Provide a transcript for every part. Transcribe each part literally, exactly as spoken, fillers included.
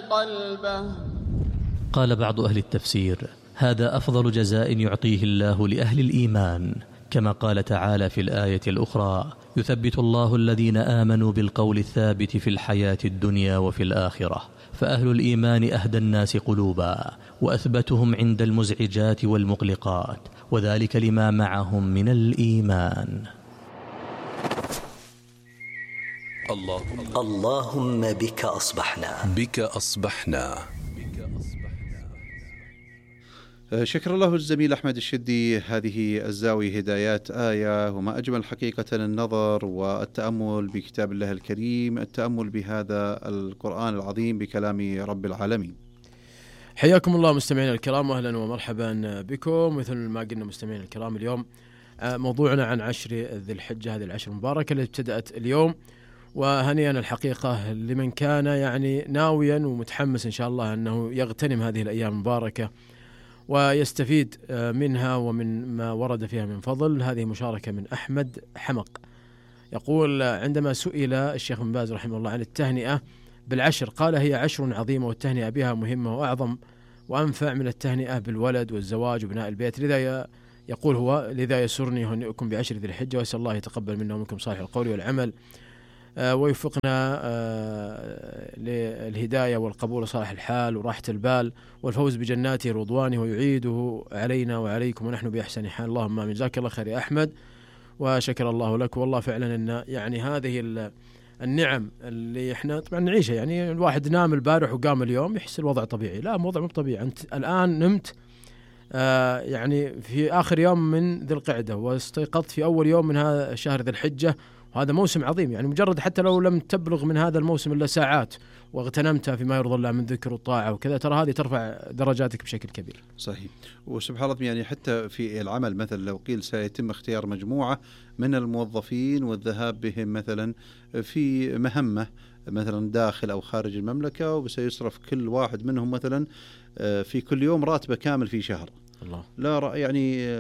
قلبه. قال بعض أهل التفسير: هذا أفضل جزاء يعطيه الله لأهل الإيمان، كما قال تعالى في الآية الأخرى: يثبت الله الذين آمنوا بالقول الثابت في الحياة الدنيا وفي الآخرة. فأهل الإيمان أهدى الناس قلوبا وأثبتهم عند المزعجات والمقلقات، وذلك لما معهم من الإيمان. اللهم, اللهم بك أصبحنا بك أصبحنا. شكر الله الزميل أحمد الشدي. هذه الزاوية هدايات آية، وما أجمل حقيقة النظر والتأمل بكتاب الله الكريم، التأمل بهذا القرآن العظيم بكلام رب العالمين. حياكم الله مستمعين الكرام، وأهلا ومرحبا بكم. مثل ما قلنا مستمعين الكرام، اليوم موضوعنا عن عشر ذي الحجة، هذه العشر المباركة اللي ابتدأت اليوم، وهنيئا الحقيقة لمن كان يعني ناويا ومتحمس إن شاء الله أنه يغتنم هذه الأيام المباركة ويستفيد منها ومن ما ورد فيها من فضل. هذه مشاركة من أحمد حمق، يقول: عندما سئل الشيخ بن باز رحمه الله عن التهنئة بالعشر قال: هي عشر عظيمة، والتهنئة بها مهمة وأعظم وأنفع من التهنئة بالولد والزواج وبناء البيت. لذا يقول هو: لذا يسرني هنئكم بعشر ذي الحجة، وأسأل الله يتقبل منا ومنكم صالح القول والعمل، آه ويوفقنا آه للهداية والقبول وصالح الحال وراحة البال والفوز بجناته ورضوانه، ويعيده علينا وعليكم ونحن بأحسن حال. اللهم آمين. جزاك الله خير يا أحمد، وشكر الله لك. والله فعلا أن يعني هذه النعم اللي احنا طبعا نعيشها، يعني الواحد نام البارح وقام اليوم يحس الوضع طبيعي، لا وضع مو طبيعي. أنت الآن نمت آه يعني في آخر يوم من ذي القعدة، واستيقظت في أول يوم من هذا شهر ذي الحجة، وهذا موسم عظيم. يعني مجرد حتى لو لم تبلغ من هذا الموسم إلا ساعات واغتنمتها فيما يرضى الله من ذكر والطاعة وكذا، ترى هذه ترفع درجاتك بشكل كبير. صحيح. وسبحان الله، يعني حتى في العمل مثلا لو قيل سيتم اختيار مجموعة من الموظفين والذهاب بهم مثلا في مهمة مثلا داخل أو خارج المملكة، وسيصرف كل واحد منهم مثلا في كل يوم راتبه كامل في شهر. الله. لا يعني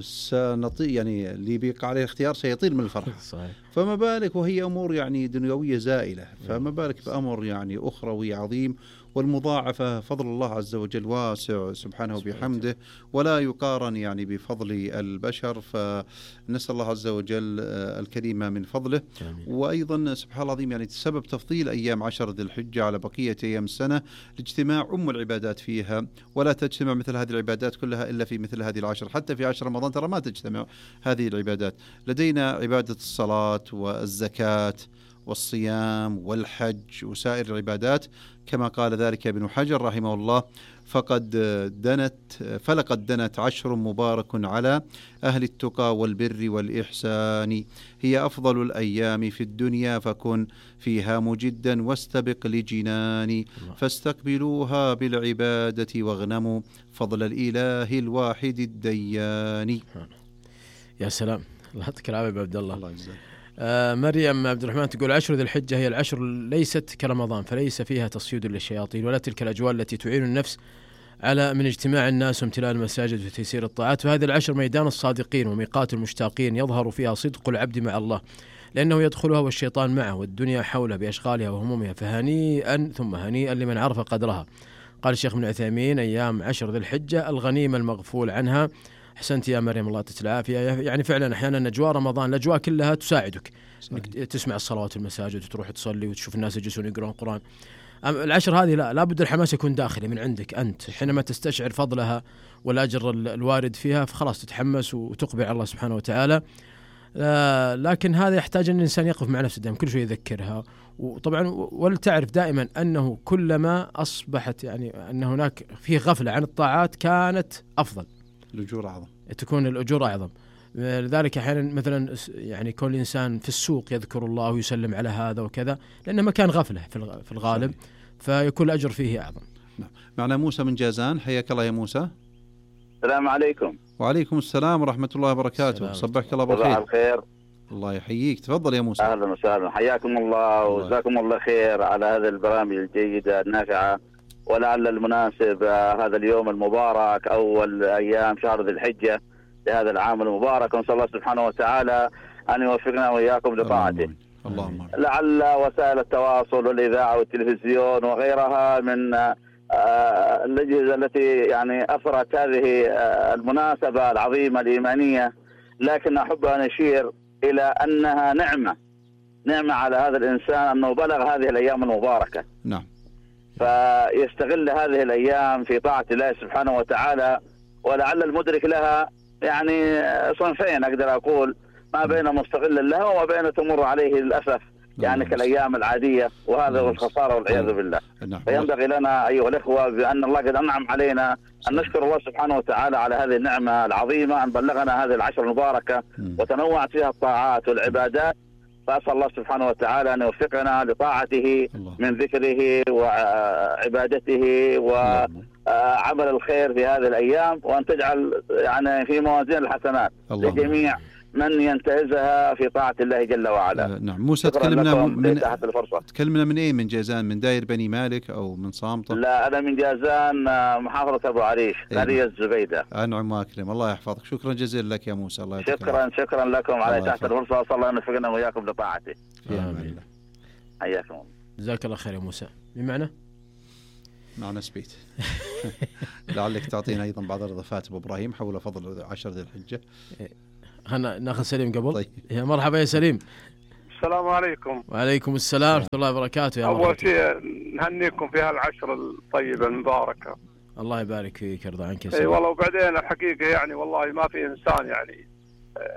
سنطي يعني اللي بيقع عليه الاختيار سيطير من الفرح. صحيح. فما بالك وهي أمور يعني دنيوية زائلة، فما بالك بأمر يعني أخروي عظيم، والمضاعفة فضل الله عز وجل واسع سبحانه وبحمده، ولا يقارن يعني بفضل البشر. فنسأل الله عز وجل الكريم من فضله. جميل. وأيضا سبحان الله العظيم، يعني سبب تفضيل أيام عشر ذي الحجة على بقية أيام السنة لاجتماع أم العبادات فيها، ولا تجتمع مثل هذه العبادات كلها إلا في مثل هذه العشر. حتى في عشر رمضان ترى ما تجتمع هذه العبادات. لدينا عبادة الصلاة والزكاة والصيام والحج وسائر العبادات، كما قال ذلك ابن حجر رحمه الله: فقد دنت فلقد دنت عشر مبارك على أهل التقى والبر والإحسان، هي أفضل الأيام في الدنيا، فكن فيها مجدا واستبق لجنان، فاستقبلوها بالعبادة واغنموا فضل الإله الواحد الديان. يا سلام، الله يعطيك العافية عبد الله. الله يجزاك. آه مريم عبد الرحمن تقول: عشر ذي الحجة هي العشر ليست كرمضان، فليس فيها تصيد للشياطين ولا تلك الأجواء التي تعين النفس على من اجتماع الناس وامتلاء المساجد وتيسير الطاعات. فهذه العشر ميدان الصادقين وميقات المشتاقين، يظهر فيها صدق العبد مع الله، لأنه يدخلها والشيطان معه والدنيا حوله بأشغالها وهمومها، فهنيئا ثم هنيئا لمن عرف قدرها. قال الشيخ ابن عثيمين: أيام عشر ذي الحجة الغنيمة المغفول عنها. أحسنت يا مريم، الله يعطيك العافية. يعني فعلا أحيانا أجواء رمضان الأجواء كلها تساعدك إنك تسمع الصلوات في المساجد وتروح تصلي وتشوف الناس يجلسون يقرؤون القرآن. العشر هذه لا لابد الحماس يكون داخلي من عندك أنت، حينما تستشعر فضلها والأجر الوارد فيها فخلاص تتحمس وتقبل على الله سبحانه وتعالى. لكن هذا يحتاج أن الإنسان يقف مع نفسه دائما، كل شيء يذكرها. وطبعا ولتعرف دائما أنه كلما أصبحت يعني أن هناك فيه غفلة عن الطاعات كانت أفضل، الأجور أعظم، تكون الأجور أعظم. لذلك أحيانا مثلا يعني كل إنسان في السوق يذكر الله ويسلم على هذا وكذا، لأنه مكان غفلة في الغالب، فيكون الأجر فيه أعظم. معنا موسى من جازان، حياك الله يا موسى. السلام عليكم. وعليكم السلام ورحمة الله وبركاته. صبحك الله بالخير. صباح الخير. الله يحييك، تفضل يا موسى. أهلا وسهلا، حياكم الله وجزاكم الله خير على هذه البرامج الجيدة النافعة. ولعل المناسب هذا اليوم المبارك أول أيام شهر ذي الحجة لهذا العام المبارك، ونسأل الله سبحانه وتعالى أن يوفقنا وإياكم لطاعته. اللهم لعل وسائل التواصل والإذاعة والتلفزيون وغيرها من الأجهزة التي يعني أثرت هذه المناسبة العظيمة الإيمانية، لكن أحب أن أشير إلى أنها نعمة نعمة على هذا الإنسان أنه بلغ هذه الأيام المباركة. نعم. فيستغل هذه الأيام في طاعة الله سبحانه وتعالى، ولعل المدرك لها يعني صنفين أقدر أقول، ما بين مستغل لها وما بين تمر عليه للأسف يعني كالأيام العادية، وهذا هو الخسارة والعياذ بالله. فينبغي لنا أيها الإخوة بأن الله قد أنعم علينا أن نشكر الله سبحانه وتعالى على هذه النعمة العظيمة أن بلغنا هذه العشر المباركة وتنوعت فيها الطاعات والعبادات. فأسأل الله سبحانه وتعالى أن يوفقنا لطاعته من ذكره وعبادته وعمل الخير في هذه الأيام، وأن تجعل يعني في موازين الحسنات لجميع من ينتهزها في طاعة الله جل وعلا. آه نعم. موسى تكلمنا من تكلمنا من ايه؟ من جازان، من داير بني مالك او من صامتة؟ لا انا من جازان محافظة ابو عريش قرية الزبيدة. انعم واكرم، الله يحفظك. شكرا جزيلا لك يا موسى. الله يحفظك. شكرا شكرا لكم على تحت الفرصة، صلى الله ان يوفقنا وياكم لطاعته. امين. حياكم الله. جزاك الله خير يا موسى. بمعنى معنا سبيت. لعلك تعطينا ايضا بعض الاضافات ابو ابراهيم حول فضل عشر ذي الحجة. هنا ناخذ سليم قبل. طيب. يا مرحبا يا سليم. السلام عليكم. وعليكم السلام ورحمة الله وبركاته. يا أول شيء نهنيكم في هالعشر الطيبة المباركة. الله يبارك فيك، يرضى عنك يا سليم. اي والله. وبعدين الحقيقة يعني والله ما في إنسان يعني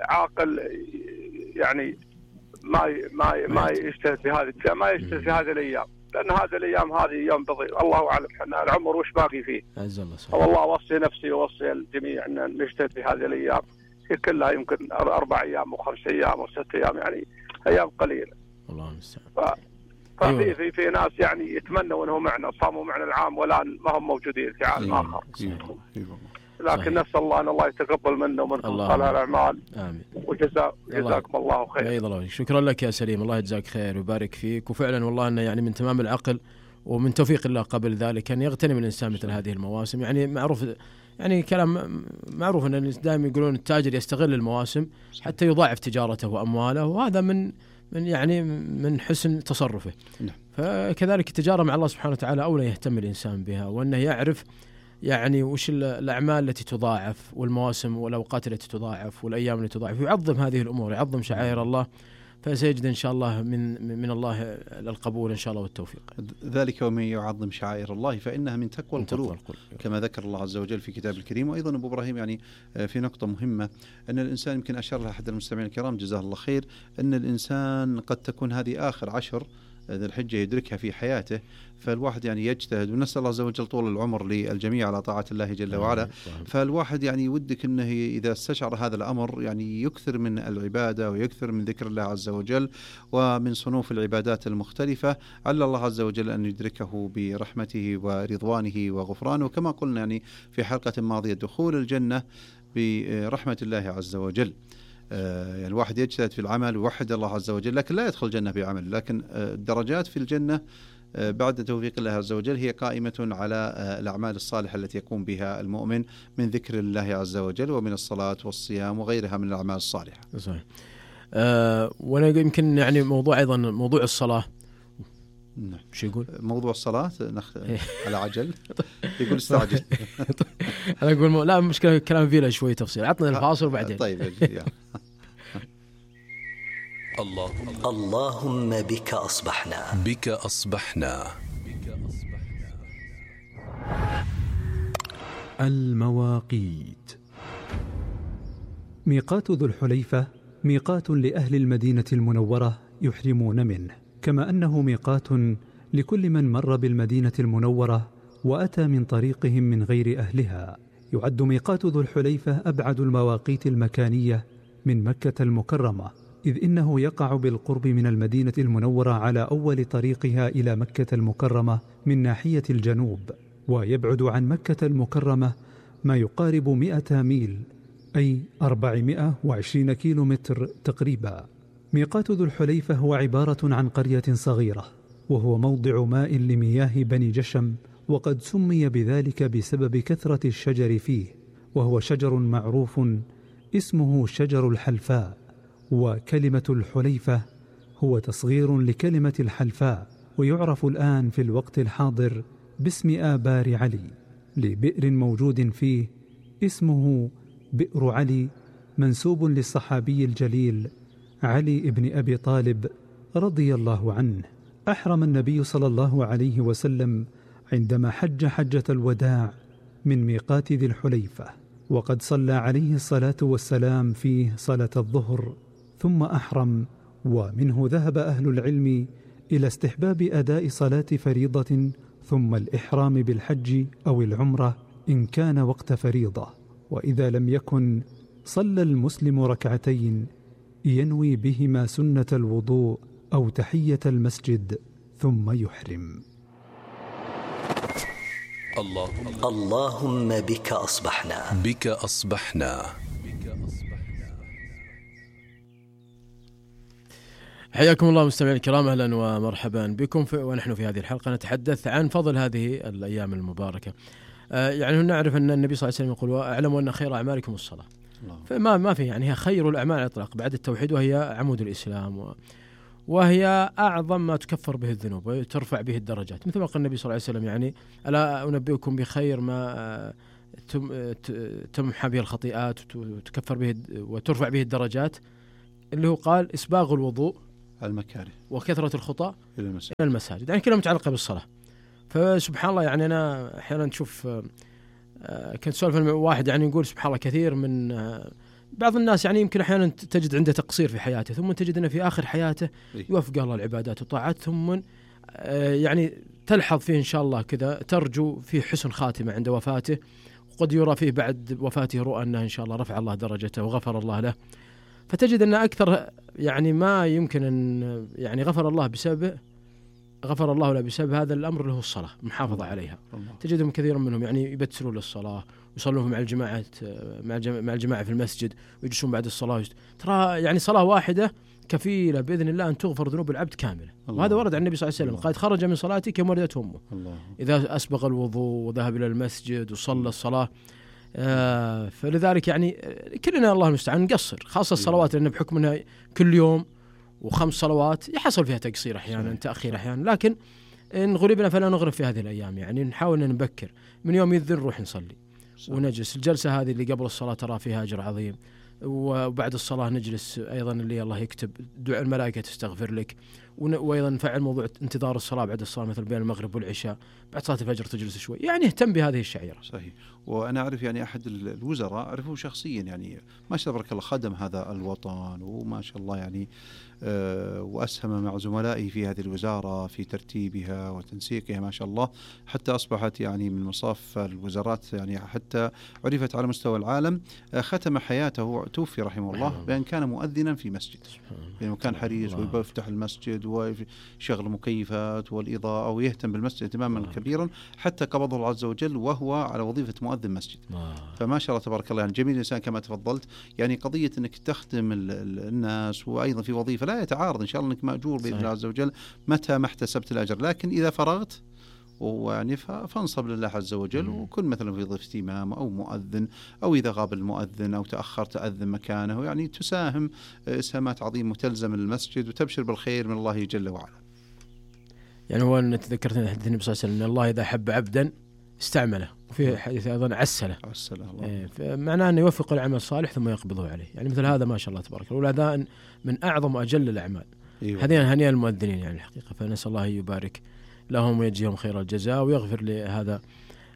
عاقل يعني ما ما ما يجتهد في هذه ما يجتهد في هذه الأيام، لأن هذه الأيام هذه يوم بضيع، الله أعلم احنا العمر وش باقي فيه. عز الله. والله أوصي نفسي وأوصي الجميع أن نجتهد في هذه الأيام، هي كلها يمكن أربع أيام وخمس أيام وست أيام، يعني أيام قليلة. الله المستعان. ف... ففي في في ناس يعني يتمنوا أنهم معنا صاموا معنا العام ولا ما هم موجودين في عالم آخر. لكن نسأل الله أن الله يتقبل منا ومنكم صالح الأعمال. آمين. وجزاك جزاكم الله خير. أيضا الله. شكرا لك يا سليم، الله يجزاك خير ويبارك فيك. وفعلا والله أنه يعني من تمام العقل ومن توفيق الله قبل ذلك أن يغتنم الإنسان مثل هذه المواسم. يعني معروف يعني كلام معروف أن دائما يقولون التاجر يستغل المواسم حتى يضاعف تجارته وأمواله، وهذا من من يعني من حسن تصرفه. فكذلك التجارة مع الله سبحانه وتعالى أولى يهتم الإنسان بها، وأنه يعرف يعني وش الأعمال التي تضاعف والمواسم والأوقات التي تضاعف والأيام التي تضاعف، يعظم هذه الأمور، يعظم شعائر الله، فسيجد إن شاء الله من من الله القبول إن شاء الله والتوفيق. ذلك ومن يعظم شعائر الله فإنها من تقوى القلوب، كما ذكر الله عز وجل في كتاب الكريم. وأيضا أبو إبراهيم يعني في نقطة مهمة أن الإنسان يمكن أشار لها أحد المستمعين الكرام جزاه الله خير، أن الإنسان قد تكون هذه آخر عشر ذي الحجة يدركها في حياته، فالواحد يعني يجتهد، ونسأل الله عز وجل طول العمر للجميع على طاعة الله جل وعلا. فالواحد يعني ودك أنه إذا استشعر هذا الأمر يعني يكثر من العبادة ويكثر من ذكر الله عز وجل ومن صنوف العبادات المختلفة، على الله عز وجل أن يدركه برحمته ورضوانه وغفرانه. وكما قلنا يعني في حلقة ماضية دخول الجنة برحمة الله عز وجل. يعني الواحد يجتهد في العمل ويوحد الله عز وجل، لكن لا يدخل الجنة بعمل، لكن الدرجات في الجنة بعد توفيق الله عز وجل هي قائمة على الأعمال الصالحة التي يقوم بها المؤمن من ذكر الله عز وجل ومن الصلاة والصيام وغيرها من الأعمال الصالحة. صحيح. أه وأنا يمكن يعني موضوع أيضا موضوع الصلاة. نعم. شو يقول؟ موضوع الصلاة نخ... على عجل. يقول استعجل. أنا أقول م... لا مشكلة كلام فيه له شوي تفصيل، عطنا الفاصل وبعدين. طيب. اللهم اللهم بك أصبحنا بك أصبحنا المواقيت. ميقات ذو الحليفة ميقات لأهل المدينة المنورة يحرمون منه، كما أنه ميقات لكل من مر بالمدينة المنورة وأتى من طريقهم من غير أهلها. يعد ميقات ذو الحليفة أبعد المواقيت المكانية من مكة المكرمة، إذ إنه يقع بالقرب من المدينة المنورة على أول طريقها إلى مكة المكرمة من ناحية الجنوب، ويبعد عن مكة المكرمة ما يقارب مئة ميل، أي أربعمائة وعشرين كيلو متر تقريبا. ميقات ذو الحليفة هو عبارة عن قرية صغيرة، وهو موضع ماء لمياه بني جشم، وقد سمي بذلك بسبب كثرة الشجر فيه، وهو شجر معروف اسمه شجر الحلفاء. وكلمة الحليفة هو تصغير لكلمة الحلفاء، ويعرف الآن في الوقت الحاضر باسم آبار علي، لبئر موجود فيه اسمه بئر علي، منسوب للصحابي الجليل علي بن أبي طالب رضي الله عنه. أحرم النبي صلى الله عليه وسلم عندما حج حجة الوداع من ميقات ذي الحليفة، وقد صلى عليه الصلاة والسلام فيه صلاة الظهر ثم أحرم. ومنه ذهب أهل العلم إلى استحباب أداء صلاة فريضة ثم الإحرام بالحج أو العمرة إن كان وقت فريضة، وإذا لم يكن صلى المسلم ركعتين ينوي بهما سنة الوضوء أو تحية المسجد ثم يحرم. الله اللهم بك أصبحنا بك أصبحنا. حياكم الله مستمعين الكرام، أهلا ومرحبا بكم في ونحن في هذه الحلقة نتحدث عن فضل هذه الأيام المباركة. آه يعني نعرف أن النبي صلى الله عليه وسلم يقول وأعلم أن خير أعمالكم الصلاة، فما ما في يعني هي خير الأعمال على الإطلاق بعد التوحيد، وهي عمود الإسلام و وهي أعظم ما تكفر به الذنوب وترفع به الدرجات، مثل ما قال النبي صلى الله عليه وسلم يعني ألا أنبئكم بخير ما تمحى به الخطيئات وتكفر به وترفع به الدرجات، اللي هو قال إسباغ الوضوء المكاره وكثرة الخطى إلى المساجد. إلى المساجد، يعني كلها متعلقة بالصلاة. فسبحان الله يعني أنا أحيانا نشوف كنت سولف واحد يعني يقول سبحان الله كثير من بعض الناس يعني يمكن أحيانا تجد عنده تقصير في حياته، ثم تجد أنه في آخر حياته يوفق الله العبادات والطاعات، ثم يعني تلحظ فيه إن شاء الله كذا ترجو فيه حسن خاتمة عند وفاته، وقد يرى فيه بعد وفاته رؤى أنه إن شاء الله رفع الله درجته وغفر الله له. فتجد أن أكثر يعني ما يمكن أن يعني غفر الله بسبب غفر الله له بسبب هذا الأمر اللي هو الصلاة، محافظة عليها. تجدهم كثير منهم يعني يبتسرون للصلاة ويصلون مع الجماعة مع الجماعة في المسجد ويجلسون بعد الصلاة. ترى يعني صلاة واحدة كفيلة بإذن الله أن تغفر ذنوب العبد كاملة، وهذا ورد عن النبي صلى الله عليه وسلم قال خرج من صلاته كما ولدته أمه إذا أسبغ الوضوء وذهب إلى المسجد وصلى الصلاة. آه فلذلك يعني كلنا الله المستعان نقصر، خاصة الصلوات لأن بحكم أنها كل يوم وخمس صلوات يحصل فيها تقصير أحيانا تأخير أحيانا، لكن إن غلبنا فلا نغرب في هذه الأيام، يعني نحاول أن نبكر من يوم يذن نروح نصلي ونجلس. الجلسة هذه اللي قبل الصلاة ترى فيها أجر عظيم، وبعد الصلاة نجلس أيضا اللي الله يكتب دعاء الملائكة تستغفر لك، وأيضا نفعل موضوع انتظار الصلاة بعد الصلاة مثل بين المغرب والعشاء، بعد صلاة الفجر تجلس شوي، يعني اهتم بهذه الشعيرة. صحيح. وأنا أعرف يعني أحد الوزراء أعرفه شخصيا، يعني ما شاء الله تبارك الله خدم هذا الوطن وما شاء الله يعني أه وأسهم مع زملائه في هذه الوزارة في ترتيبها وتنسيقها ما شاء الله، حتى أصبحت يعني من مصاف الوزارات يعني حتى عرفت على مستوى العالم. أه ختم حياته توفي رحمه الله بأن كان مؤذنا في مسجد، يعني كان حريص ويفتح المسجد ويشغل المكيفات والإضاءة ويهتم بالمسجد اهتماما كبيرا حتى قبضه الله عز وجل وهو على وظيفة مؤذن مسجد. فما شاء الله تبارك الله يعني جميل الإنسان كما تفضلت، يعني قضية أنك تخدم الناس وأيضا في وظيفة لا يتعارض، إن شاء الله أنك مأجور بإذن الله عز وجل متى ما احتسبت الأجر، لكن إذا فرغت ويعني فانصب لله عز وجل وكن مثلا في ضيفة إمام أو مؤذن، أو إذا غاب المؤذن أو تأخر تأذن مكانه، يعني تساهم إسهامات عظيمة وتلزم المسجد وتبشر بالخير من الله جل وعلا. يعني هو أن تذكرتني حديث النبي صلى الله عليه وسلم أن الله إذا حب عبدا استعمله، وفي حديث أيضا عسله عسله الله، إيه معناه أنه يوفق العمل الصالح ثم يقبضه عليه، يعني مثل هذا ما شاء الله تبارك الله، وهذا من أعظم وأجل الأعمال. هذين هنيئا المؤذنين يعني الحقيقة، فنسأل الله يبارك لهم ويجزيهم خير الجزاء ويغفر لهذا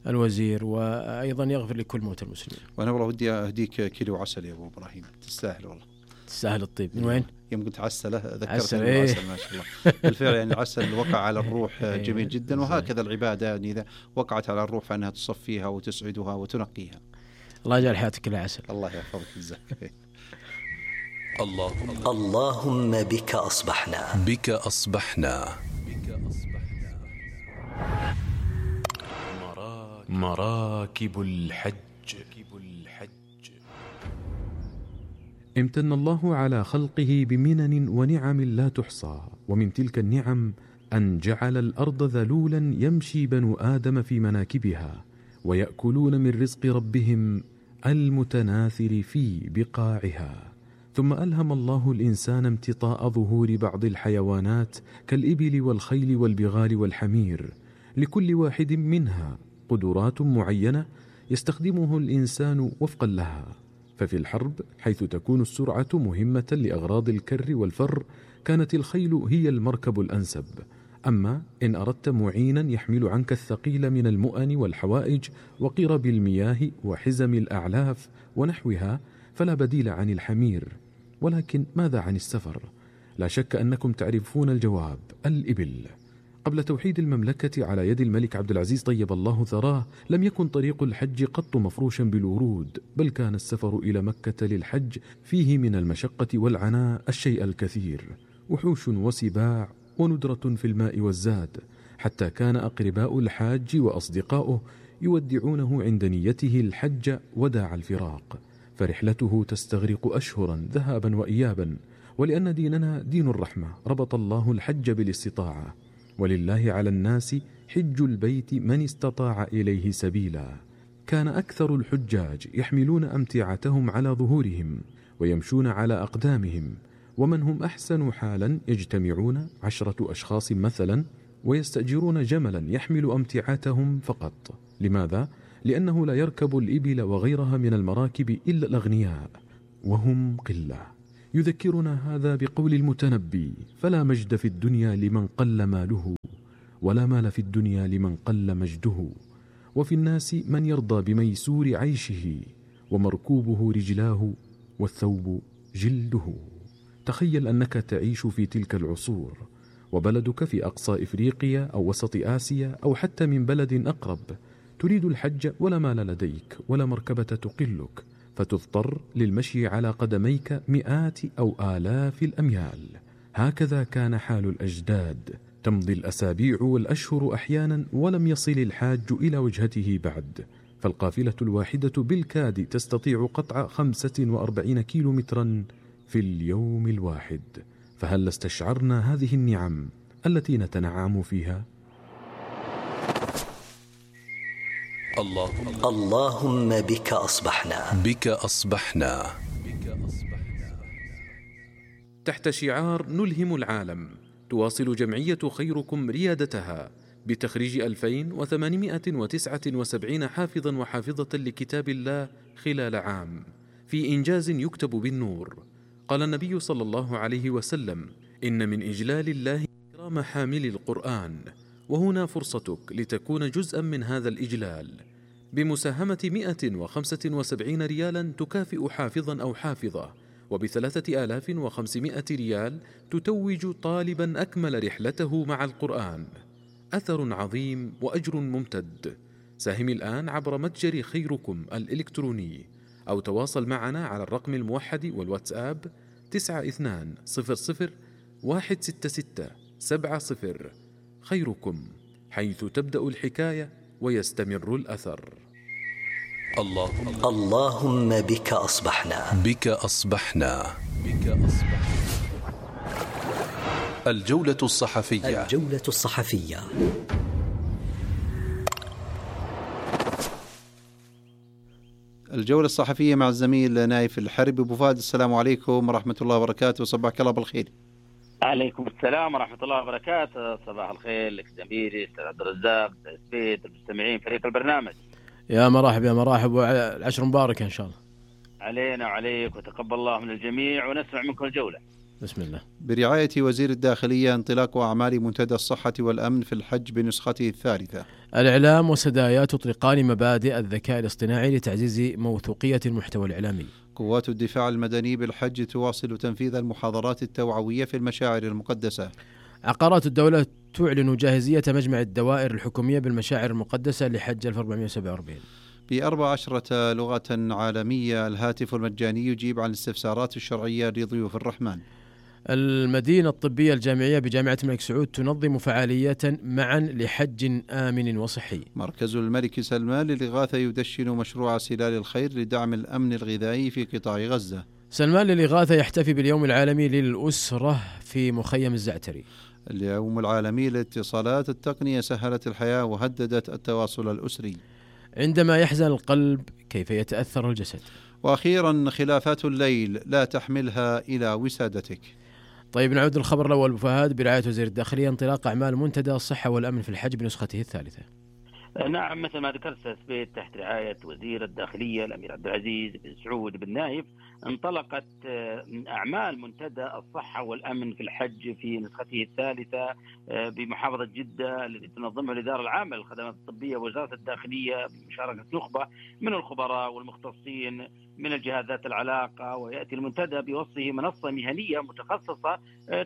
الوزير وأيضا يغفر لكل موتى المسلمين. وأنا والله ودي أهديك كيلو عسل يا أبو إبراهيم، تستاهل والله، تستاهل الطيب. من وين؟ يوم قلت عسله ذكرتني بالعسل. ما شاء الله بالفعل يعني العسل وقع على الروح جميل جدا، وهكذا العبادة يعني إذا وقعت على الروح فإنها تصفيها وتسعدها وتنقيها. الله يجعل حياتك كلها عسل. الله يحفظك جزاك. الله اللهم بك أصبحنا بك أصبحنا مراكب الحج. امتن الله على خلقه بمنن ونعم لا تحصى، ومن تلك النعم أن جعل الأرض ذلولا يمشي بنو آدم في مناكبها ويأكلون من رزق ربهم المتناثر في بقاعها، ثم ألهم الله الإنسان امتطاء ظهور بعض الحيوانات كالإبل والخيل والبغال والحمير، لكل واحد منها قدرات معينة يستخدمه الإنسان وفقا لها. ففي الحرب حيث تكون السرعة مهمة لأغراض الكر والفر كانت الخيل هي المركب الأنسب. أما إن أردت معينا يحمل عنك الثقيل من المؤن والحوائج وقرب المياه وحزم الأعلاف ونحوها فلا بديل عن الحمير. ولكن ماذا عن السفر؟ لا شك أنكم تعرفون الجواب، الإبل. قبل توحيد المملكة على يد الملك عبد العزيز طيب الله ثراه لم يكن طريق الحج قط مفروشا بالورود، بل كان السفر إلى مكة للحج فيه من المشقة والعناء الشيء الكثير، وحوش وسباع وندرة في الماء والزاد، حتى كان أقرباء الحاج وأصدقاؤه يودعونه عند نيته الحج وداع الفراق، فرحلته تستغرق أشهرا ذهابا وإيابا. ولأن ديننا دين الرحمة ربط الله الحج بالاستطاعة، ولله على الناس حج البيت من استطاع إليه سبيلا. كان أكثر الحجاج يحملون أمتعتهم على ظهورهم ويمشون على أقدامهم، ومن هم أحسن حالا يجتمعون عشرة أشخاص مثلا ويستأجرون جملا يحمل أمتعتهم فقط. لماذا؟ لأنه لا يركب الإبل وغيرها من المراكب إلا الأغنياء، وهم قلة. يذكرنا هذا بقول المتنبي: فلا مجد في الدنيا لمن قل ماله، ولا مال في الدنيا لمن قل مجده، وفي الناس من يرضى بميسور عيشه، ومركوبه رجلاه والثوب جلده. تخيل أنك تعيش في تلك العصور، وبلدك في أقصى إفريقيا أو وسط آسيا أو حتى من بلد أقرب، تريد الحج ولا مال لديك ولا مركبة تقلك، فتضطر للمشي على قدميك مئات أو آلاف الأميال. هكذا كان حال الأجداد. تمضي الأسابيع والأشهر أحيانا ولم يصل الحاج إلى وجهته بعد، فالقافلة الواحدة بالكاد تستطيع قطع خمسة وأربعين كيلو مترا في اليوم الواحد. فهل استشعرنا هذه النعم التي نتنعم فيها؟ اللهم اللهم بك أصبحنا بك أصبحنا تحت شعار نلهم العالم، تواصل جمعية خيركم ريادتها بتخريج ألفين وثمانمائة وتسعة وسبعين حافظا وحافظة لكتاب الله خلال عام، في إنجاز يكتب بالنور. قال النبي صلى الله عليه وسلم: إن من إجلال الله إكرام حامل القرآن، وهنا فرصتك لتكون جزءا من هذا الإجلال بمساهمة مئة وخمسة وسبعين ريالا تكافئ حافظا أو حافظة، وبثلاثة آلاف وخمسمائة ريال تتوج طالبا أكمل رحلته مع القرآن. أثر عظيم وأجر ممتد. ساهم الآن عبر متجر خيركم الإلكتروني، أو تواصل معنا على الرقم الموحد والواتساب تسعة اثنان صفر صفر واحد ستة ستة سبعة صفر. خيركم، حيث تبدأ الحكاية ويستمر الأثر. اللهم اللهم بك أصبحنا بك أصبحنا بك أصبحنا. الجولة الصحفية الجولة الصحفية. الجولة الصحفية مع الزميل نايف الحربي. أبو فهد، السلام عليكم ورحمة الله وبركاته، صباحك الله بالخير. عليكم السلام ورحمة الله وبركاته، صباح الخير لك زميلي أستاذ عبد الرزاق، أستاذ سبيت، المستمعين، فريق البرنامج. يا مرحبا يا مرحبا، والعشر مبارك إن شاء الله علينا وعليك، وتقبل الله من الجميع، ونسمع منكم الجولة. بسم الله. برعاية وزير الداخلية انطلاق أعمال منتدى الصحة والأمن في الحج بنسخته الثالثة. الإعلام وسدايا تطلقان مبادئ الذكاء الاصطناعي لتعزيز موثوقية المحتوى الإعلامي. قوات الدفاع المدني بالحج تواصل تنفيذ المحاضرات التوعوية في المشاعر المقدسة. عقارات الدولة تعلن جاهزية مجمع الدوائر الحكومية بالمشاعر المقدسة لحج ألف وأربعمائة وسبعة وأربعين. بأربع عشرة لغة عالمية الهاتف المجاني يجيب عن الاستفسارات الشرعية لضيوف الرحمن. المدينة الطبية الجامعية بجامعة الملك سعود تنظم فعالية معا لحج آمن وصحي. مركز الملك سلمان للإغاثة يدشن مشروع سلال الخير لدعم الأمن الغذائي في قطاع غزة. سلمان للإغاثة يحتفي باليوم العالمي للأسرة في مخيم الزعتري. اليوم العالمي للاتصالات، التقنية سهلت الحياة وهددت التواصل الأسري. عندما يحزن القلب كيف يتأثر الجسد. وأخيرا خلافات الليل لا تحملها إلى وسادتك. طيب نعود للخبر الأول. أبو فهد، برعاية وزير الداخلية انطلاق أعمال منتدى الصحة والأمن في الحج بنسخته الثالثة. نعم، مثل ما ذكرت سبيت تحت رعاية وزير الداخلية الأمير عبد العزيز بن سعود بن نايف انطلقت أعمال منتدى الصحة والأمن في الحج في نسخته الثالثة بمحافظة جدة، التي تنظمها الإدارة العامة للخدمات الطبية ووزارة الداخلية بمشاركة نخبة من الخبراء والمختصين من الجهات ذات العلاقة. ويأتي المنتدى بوصفه منصة مهنية متخصصة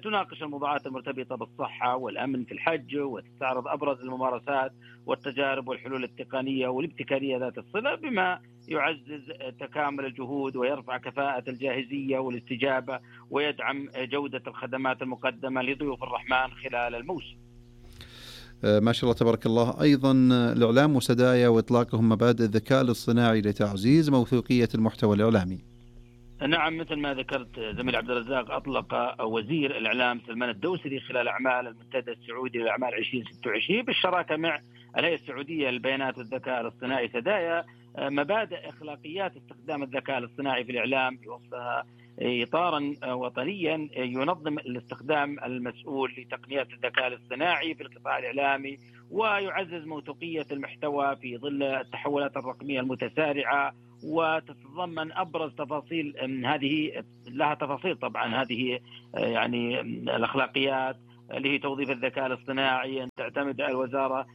تناقش الموضوعات المرتبطة بالصحة والأمن في الحج، وتستعرض أبرز الممارسات والتجارب والحلول التقنية والابتكارية ذات الصلة، بما يعزز تكامل الجهود ويرفع كفاءة الجاهزية والاستجابة ويدعم جودة الخدمات المقدمة لضيوف الرحمن خلال الموسم. ما شاء الله تبارك الله. أيضا الإعلام وسدايا وإطلاقهم مبادئ الذكاء الاصطناعي لتعزيز موثوقية المحتوى الإعلامي. نعم، مثل ما ذكرت زميل عبد الرزاق، أطلق وزير الإعلام سلمان الدوسري خلال أعمال المنتدى السعودي للأعمال عشرين ستة وعشرين بالشراكة مع الهيئة السعودية للبيانات والذكاء الاصطناعي سدايا مبادئ أخلاقيات استخدام الذكاء الاصطناعي في الإعلام، بوصفها إطارا وطنيا ينظم الاستخدام المسؤول لتقنيات الذكاء الاصطناعي في القطاع الإعلامي، ويعزز موثوقية المحتوى في ظل التحولات الرقمية المتسارعة، وتتضمن أبرز تفاصيل هذه، لها تفاصيل طبعا هذه يعني الأخلاقيات اللي هي توظيف الذكاء الاصطناعي، أن تعتمد الوزارة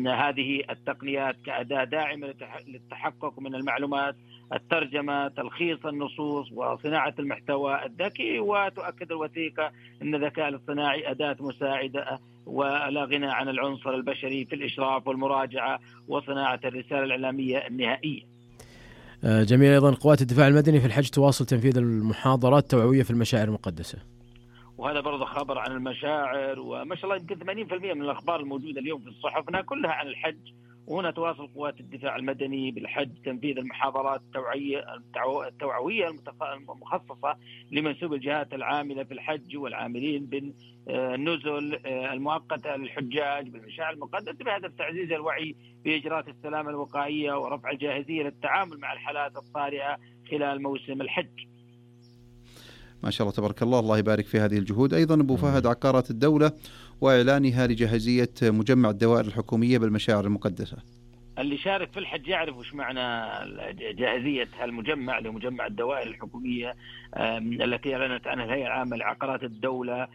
هذه التقنيات كأداة داعمة للتحقق من المعلومات، الترجمة، تلخيص النصوص، وصناعة المحتوى الذكي. وتؤكد الوثيقة أن الذكاء الاصطناعي أداة مساعدة ولا غنى عن العنصر البشري في الإشراف والمراجعة وصناعة الرسالة الإعلامية النهائية. جميل. أيضا قوات الدفاع المدني في الحج تواصل تنفيذ المحاضرات التوعوية في المشاعر المقدسة، وهذا برضه خبر عن المشاعر. وما شاء الله يمكن ثمانين بالمئة من الأخبار الموجودة اليوم في الصحف كلها عن الحج. وهنا تواصل قوات الدفاع المدني بالحج تنفيذ المحاضرات التوعية التوعوية المخصصة لمنسوب الجهات العاملة في الحج والعاملين بالنزل المؤقتة للحجاج بالمشاعر المقدسة، بهدف تعزيز الوعي بإجراءات السلامة الوقائية ورفع الجاهزية للتعامل مع الحالات الطارئة خلال موسم الحج. ما شاء الله تبارك الله، الله يبارك في هذه الجهود. أيضا أبو فهد، عقارات الدولة وإعلانها لجاهزية مجمع الدوائر الحكومية بالمشاعر المقدسة. اللي شارك في الحج يعرف وش معنى جاهزية هالمجمع لمجمع الدوائر الحكومية التي أعلنت عنها الهيئة العامة لعقارات الدولة.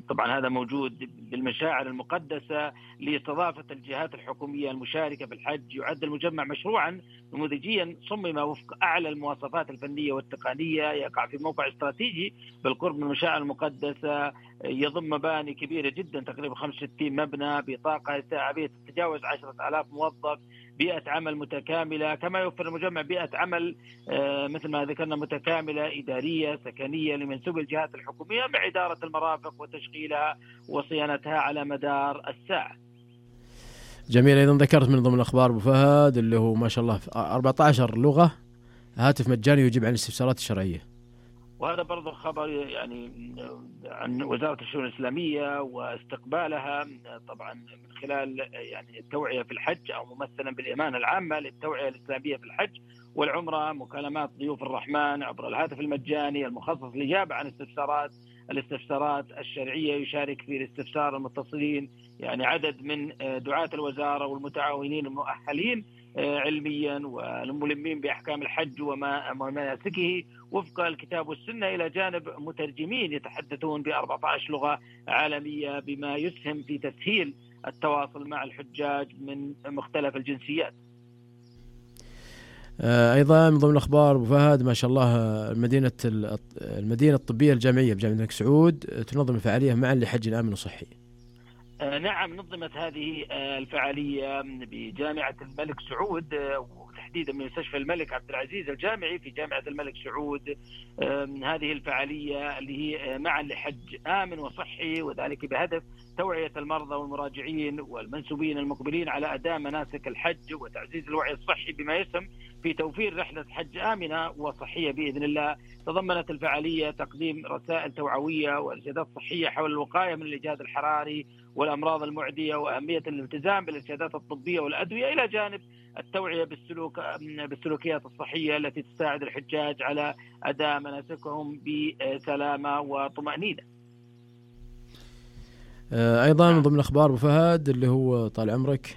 طبعا هذا موجود بالمشاعر المقدسة لاستضافة الجهات الحكومية المشاركة في الحج. يعد المجمع مشروعا نموذجيا صمم وفق أعلى المواصفات الفنية والتقنية، يقع في موقع استراتيجي بالقرب من المشاعر المقدسة، يضم مباني كبيرة جدا تقريبا خمسة وستين مبنى بطاقة استيعابية تتجاوز عشرة آلاف موظف، بيئة عمل متكاملة. كما يوفر المجمع بيئة عمل مثل ما ذكرنا متكاملة إدارية سكنية لمنسوب الجهات الحكومية مع إدارة المرافق وتشغيلها وصيانتها على مدار الساعة. جميل. أيضا ذكرت من ضمن الأخبار أبو فهد اللي هو ما شاء الله أربعة عشر لغة، هاتف مجاني يجيب عن الاستفسارات الشرعية. وهذا برضو خبر يعني عن وزارة الشؤون الإسلامية واستقبالها طبعا من خلال يعني التوعية في الحج، أو ممثلا بالإمانة العامة للتوعية الإسلامية في الحج والعمرة، مكالمات ضيوف الرحمن عبر الهاتف المجاني المخصص للإجابة عن استفسارات الاستفسارات الشرعية. يشارك في الاستفسار المتصلين يعني عدد من دعاة الوزارة والمتعاونين المؤهلين علميا والملمين بأحكام الحج ومناسكه وفق الكتاب والسنة، إلى جانب مترجمين يتحدثون بأربعة عشر لغة عالمية، بما يسهم في تسهيل التواصل مع الحجاج من مختلف الجنسيات. أيضا من ضمن الأخبار أبو فهد ما شاء الله المدينة المدينة الطبية الجامعية بجامعة الملك سعود تنظم فعالية معا لحج آمن وصحي. نعم، نظمت هذه الفعالية بجامعة الملك سعود وتحديدا من مستشفى الملك عبد العزيز الجامعي في جامعة الملك سعود. هذه الفعالية اللي هي معا لحج آمن وصحي، وذلك بهدف توعية المرضى والمراجعين والمنسوبين المقبلين على أداء مناسك الحج وتعزيز الوعي الصحي، بما يسهم في توفير رحلة حج آمنة وصحية بإذن الله. تضمنت الفعالية تقديم رسائل توعوية وإرشادات صحية حول الوقاية من الإجهاد الحراري والأمراض المعدية وأهمية الالتزام بالإرشادات الطبية والأدوية، إلى جانب التوعية بالسلوك بالسلوكيات الصحية التي تساعد الحجاج على أداء مناسكهم بسلامة وطمأنينة. أيضا من ضمن الأخبار أبو فهد اللي هو طال عمرك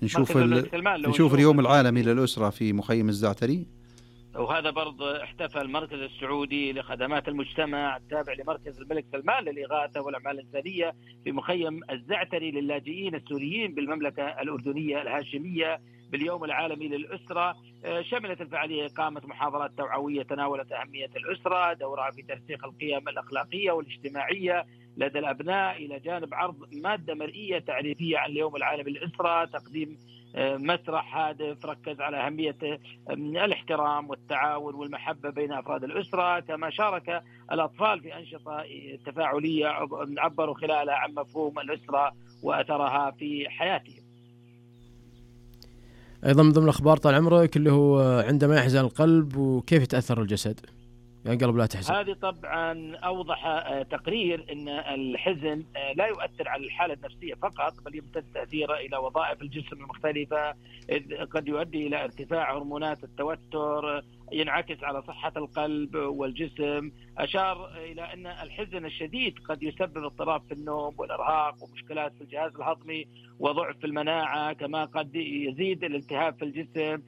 نشوف ال... نشوف اليوم العالمي للأسرة في مخيم الزعتري، وهذا برضه احتفل المركز السعودي لخدمات المجتمع التابع لمركز الملك سلمان للإغاثة والأعمال الإنسانية في مخيم الزعتري للاجئين السوريين بالمملكة الأردنية الهاشمية باليوم العالمي للأسرة. شملت الفعالية إقامة محاضرات توعوية تناولت أهمية الأسرة، دورها في ترسيخ القيم الأخلاقية والاجتماعية لدى الأبناء، إلى جانب عرض مادة مرئية تعريفية عن اليوم العالمي للأسرة، تقديم مسرح هادف ركز على أهمية الاحترام والتعاون والمحبة بين أفراد الأسرة. كما شارك الأطفال في أنشطة تفاعلية عبروا خلالها عن مفهوم الأسرة وأثرها في حياتهم. أيضا من ضمن الأخبار طال عمرك اللي هو عندما يحزن القلب وكيف يتأثر الجسد، يعني قلب لا تحزن. هذه طبعا أوضح تقرير أن الحزن لا يؤثر على الحالة النفسية فقط، بل يمتد تأثيره إلى وظائف الجسم المختلفة، إذ قد يؤدي إلى ارتفاع هرمونات التوتر ينعكس على صحة القلب والجسم. أشار إلى أن الحزن الشديد قد يسبب اضطراب في النوم والإرهاق ومشكلات في الجهاز الهضمي وضعف في المناعة، كما قد يزيد الالتهاب في الجسم.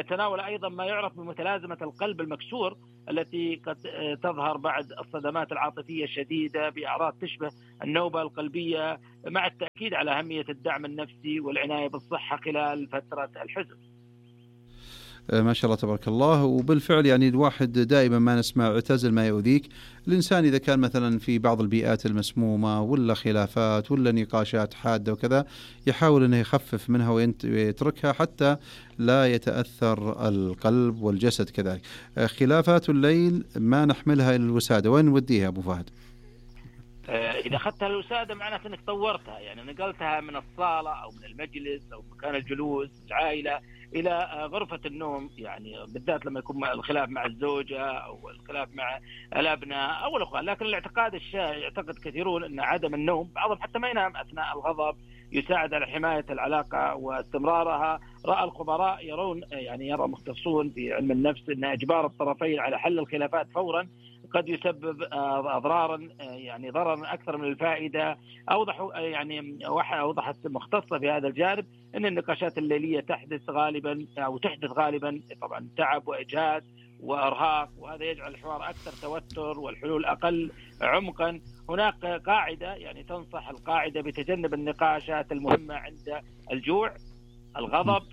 تناول أيضا ما يعرف بمتلازمة القلب المكسور التي قد تظهر بعد الصدمات العاطفية الشديدة بأعراض تشبه النوبة القلبية، مع التأكيد على أهمية الدعم النفسي والعناية بالصحة خلال فترة الحزن. ما شاء الله تبارك الله. وبالفعل يعني الواحد دائما ما نسمع اعتزل ما يؤذيك. الإنسان إذا كان مثلا في بعض البيئات المسمومة ولا خلافات ولا نقاشات حادة وكذا، يحاول أنه يخفف منها ويتركها حتى لا يتأثر القلب والجسد كذلك. خلافات الليل ما نحملها إلى الوسادة، وين نوديها أبو فهد؟ إذا أخذتها الوسادة معناته أنك طورتها، يعني نقلتها من الصالة أو من المجلس أو مكان الجلوس العائلة إلى غرفة النوم، يعني بالذات لما يكون الخلاف مع الزوجة أو الخلاف مع الأبناء أو الأخوان. لكن الاعتقاد الشائع يعتقد كثيرون أن عدم النوم، بعضهم حتى ما ينام أثناء الغضب، يساعد على حماية العلاقة واستمرارها. رأى الخبراء يرون يعني يرى مختصون في علم النفس أن إجبار الطرفين على حل الخلافات فورا قد يسبب أضرارا يعني ضررا أكثر من الفائدة. أوضحوا يعني أوضحت مختصة في هذا الجانب أن النقاشات الليلية تحدث غالبا أو تحدث غالبا طبعا تعب وإجهاد وإرهاق، وهذا يجعل الحوار أكثر توتر والحلول أقل عمقا. هناك قاعدة يعني تنصح القاعدة بتجنب النقاشات المهمة عند الجوع، الغضب،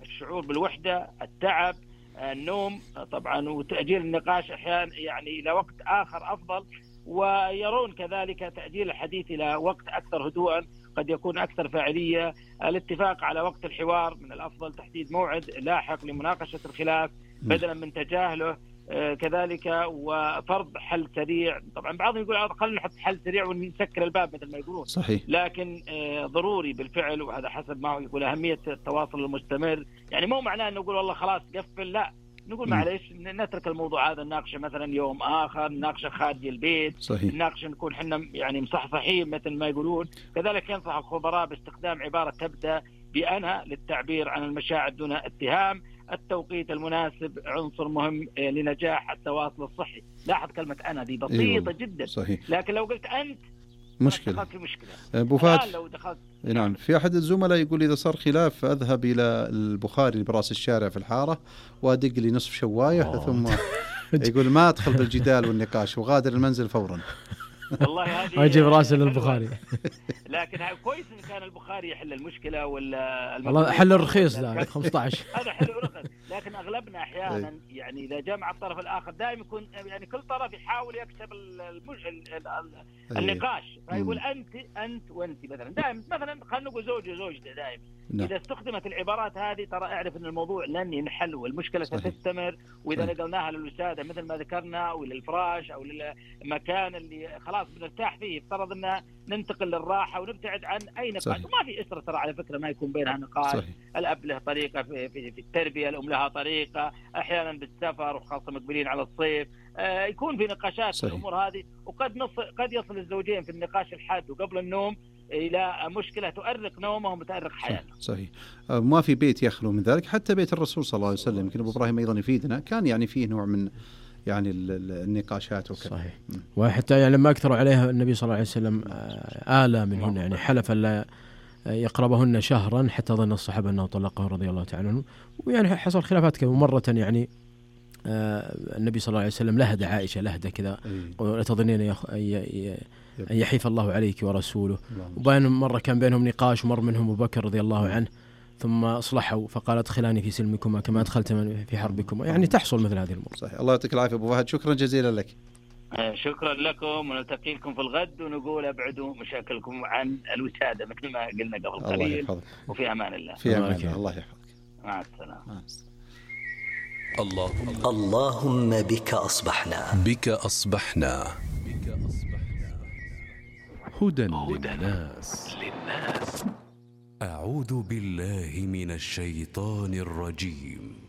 الشعور بالوحدة، التعب، النوم طبعا، وتأجيل النقاش أحيانا يعني إلى وقت آخر أفضل. ويرون كذلك تأجيل الحديث إلى وقت أكثر هدوءا قد يكون أكثر فاعلية. الاتفاق على وقت الحوار من الأفضل تحديد موعد لاحق لمناقشة الخلاف بدلا من تجاهله. آه كذلك وفرض حل سريع. طبعا بعضهم يقول خلينا نحط حل سريع ونسكر الباب مثل ما يقولون، صحيح. لكن آه ضروري بالفعل، وهذا حسب ما هو يقول أهمية التواصل المستمر. يعني مو معناه أن نقول والله خلاص قفل، لا، نقول معليش نترك الموضوع هذا نناقشه مثلا يوم آخر، نناقشه خارج البيت، صحيح. نناقشه نكون حنا يعني مصحصحين مثل ما يقولون. كذلك ينصح الخبراء باستخدام عبارة تبدأ بأنا للتعبير عن المشاعر دون اتهام. التوقيت المناسب عنصر مهم لنجاح التواصل الصحي. لاحظ كلمة أنا دي بسيطة أيوة. جدا، صحيح. لكن لو قلت أنت مشكلة. دخلت في مشكلة. أبو فهد لو دخلت نعم، في أحد الزملاء يقول إذا صار خلاف أذهب إلى البخاري براس الشارع في الحارة وأدق لي نصف شواية أوه. ثم يقول ما أدخل بالجدال والنقاش وغادر المنزل فورا. والله هذه أجيب راسه للبخاري. لكن كويس إن كان البخاري يحل المشكلة ولا والله حل الرخيص لا خمسة عشر هذا حل رخص. لكن أغلبنا أحيانا يعني إذا جمع الطرف الآخر دائما يكون يعني كل طرف يحاول يكسب المج... النقاش، فيقول أنت أنت وأنت مثلا دائما، مثلا خلينا نقول زوج وزوجته دائما. إذا استخدمت العبارات هذه ترى اعرف أن الموضوع لن ينحل والمشكلة ستستمر. وإذا نقلناها للوسادة مثل ما ذكرنا أو للفراش أو للمكان اللي خلاص بنرتاح فيه، افترض أن ننتقل للراحة ونبتعد عن أي نقاش. وما في أسرة ترى على فكرة ما يكون بينها نقاش. صحيح. الأب له طريقة في, في, في التربية، الأم لها طريقة، أحيانا بالسفر وخاصة مقبلين على الصيف آه يكون في نقاشات في الأمور هذه. وقد نص قد يصل الزوجين في النقاش الحاد وقبل النوم إلى مشكلة تؤرق نومهم وتؤرق حياتهم. صحيح. ما في بيت يخلو من ذلك، حتى بيت الرسول صلى الله عليه وسلم. يمكن أبو إبراهيم أيضا يفيدنا، كان يعني فيه نوع من يعني النقاشات وكذا. صحيح. وحتى يعني لما أكثروا عليها النبي صلى الله عليه وسلم آلى منهن، يعني حلف لا يقربهن شهرا حتى ظن الصحابة أنه طلقه رضي الله تعالى عنه. ويعني حصل خلافات كذا. مرة يعني النبي صلى الله عليه وسلم لهد عائشة لهدة كذا، ولا تظنين أن يحيف الله عليك ورسوله. وبين مرة كان بينهم نقاش، ومر منهم أبو بكر رضي الله عنه، ثم أصلحوا فقال ادخلاني في سلمكما كما أدخلت في حربكما. يعني تحصل مثل هذه الأمور. صحيح. الله يعطيك العافية أبو فهد، شكرا جزيلا لك. شكرا لكم، ونلتقي لكم في الغد، ونقول ابعدوا مشاكلكم عن الوسادة مثل ما قلنا قبل قليل. وفي أمان الله. في أمان الله. الله يحفظك. مع السلامة. مع السلامة. اللهم اللهم بك أصبحنا بك أصبحنا هدى للناس. أعوذ بالله من الشيطان الرجيم.